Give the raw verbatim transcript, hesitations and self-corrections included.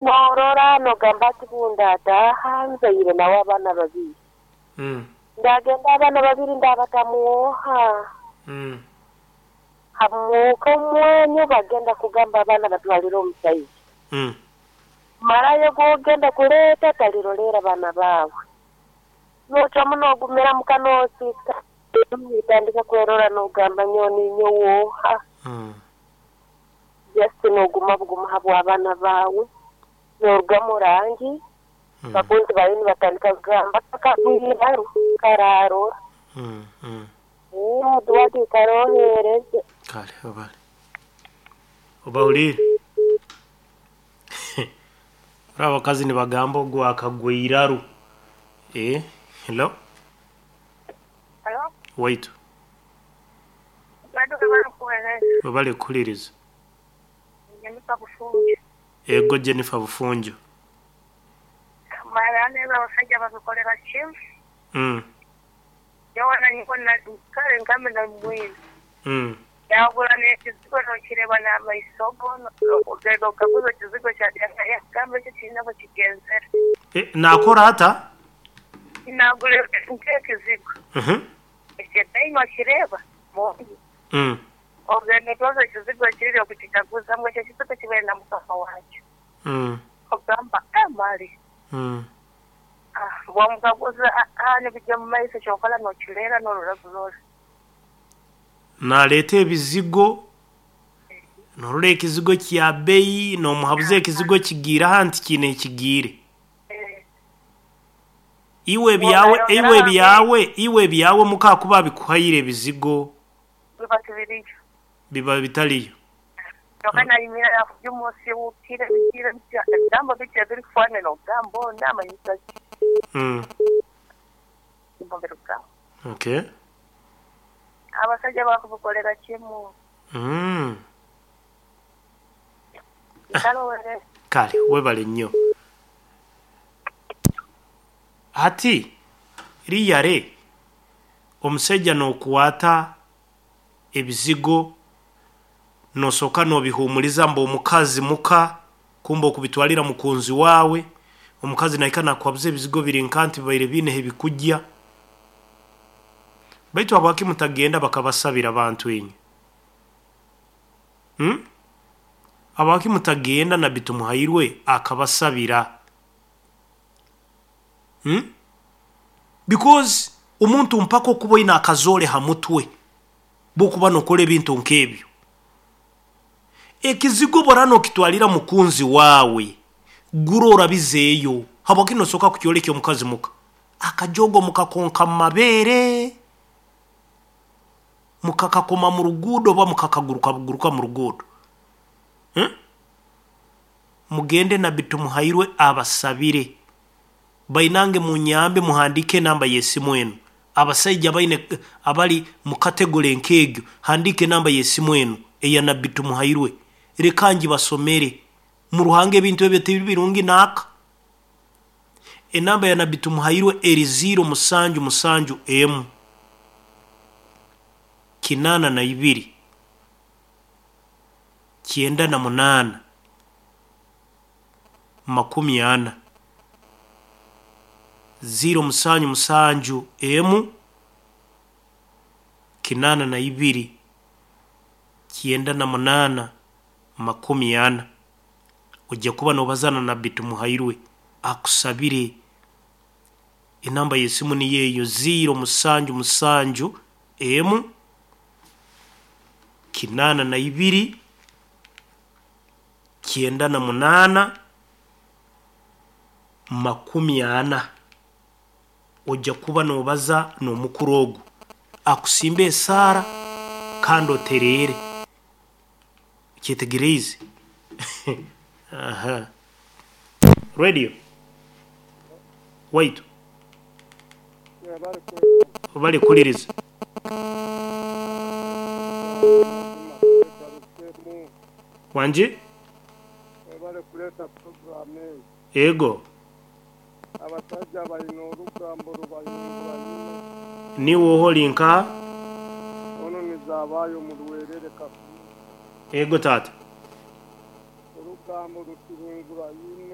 Norora nogamba ati bundataha nzaire nawe abaana babiri. Mm. Ndagenda abaana babiri ndabatamuoha. Mm. Hamuka omwenyo bagenda kugamba abaana batwalire omusaiza. Mm. Marayo gogenda kuleeta talirolera baana baawe. Nocwamu nogumira muka nosika. Nitandika kwerora nogamba nyoni nyowoha. Mm. Just noguma buguma habwa abaana baawe. Noruga mu rangi. Mm. Bakunzi bawe nibatandika kugamba kakagwiraru kararora. Mm. Mm. Duwati karohereze. Kale obale. Obawulire. Ora abakazi nibagamba ogwo akagwiraru. Eh, hello. Halo, Waitu. bado barakuweereza. Obale kuhuliriza. Jennifer Bufunjo. Ego Jennifer Bufunjo. Mara neza abasajja babikolera kimu. Mm. Yowana niko na kale ngambe na mwini. Mm. Yagula n'ekizigo n'okireba n'amaiso go ogenda okaguza ekizigo kya gambe ekyo kirina bwe kigenzere. Eh, nakora ata? Nagula nk'ekizigo. Mhm. Ekyetaima kireba mungi. Mm. Ogenda otwaza ekizigo kiri okukikaguza ngu ekyo ekizigo kibeere na mukama waakyo. Mm. Ogamba amali. Mm. Ah, bwamukaguza ah, nibijja mu maiso kyokola n'okireera n'orora bulora. Naleeta ebizigo norora ekizigo kya beyi nomuhabuza ekizigo kigiire aha nti kiine ekigiire. Eh, Iwe byawe iwe byawe iwe byawe muka kuba bikuhaire ebizigo biba tibiriyo. biba bitaliyo. Kyokka nayimira yakujja omunsi wukire bikire bitya ebigambo bitya ebirikufaanana ogamba onamanyisa ki Mm. mubirugamba. Okay. Abasajja bakubikolera kimu. Mm. Nkalowere. Kale webale nnyo. Ati riyare omusajja n'okukwata ebizigo nosooka n'obihumuliza mbu omukazi muka kumbe okubitwalira mukunzi waawe omukazi naika nakuhabuza ebizigo biri nka nti bibaire biineho ebikujja baitu habwaki mutagenda bakabasabira abantu inywe hmm? Habwaki mutagenda Nabbi Tumuhairwe akabasabira hmm? Because omuntu mpaka okuba oine akazoole ha mutwe bwokuba nokola ebintu nk'ebyo. Ekizigo bora nokitwalira mukunzi waawe gura orabizeeyo habwaki nosooka kukyoleka omukazi muka akajogo mukakonka mu mabeere mukakakoma mu ruguudo oba mukakaguruka buguruka mu ruguudo hmm? Mugende Nabbi Tumuhairwe abasabire bainange munyambe muhandike enamba y'esimu eno abasaija baine abali mu kategore nk'egyo handike enamba y'esimu eno eya Nabbi Tumuhairwe reka ngibasomere mu ruhanga ebintu ebyo tibiri birungi naaka. Enamba ya Nabbi Tumuhairwe eri ziro musanju musanju emu kinana na ibiri kyenda na munaana makumi ana ziro musanju musanju emu kinana na ibiri kyenda na munaana makumi ana. Ojja kuba nobazana Nabbi Tumuhairwe akusabire. Enamba y'esimu niyo eyo ziro musanju musanju emu kinana na ibiri kyenda na munaana makumi ana. Ojja kuba nobaza n'omukuru ogu akusimba esaara kandi otereere kyetegereize. Aha. Radio waitu obale kuhuliriza. Wanje bari kuleeta programu eyo. Ego abasajja balina olugambo lubayungura nnyo. Niwe oholi nka ono nizaabayo mu Luweerere Kafu. Ego taata. Olugambo Orugambo rukihingura nyine.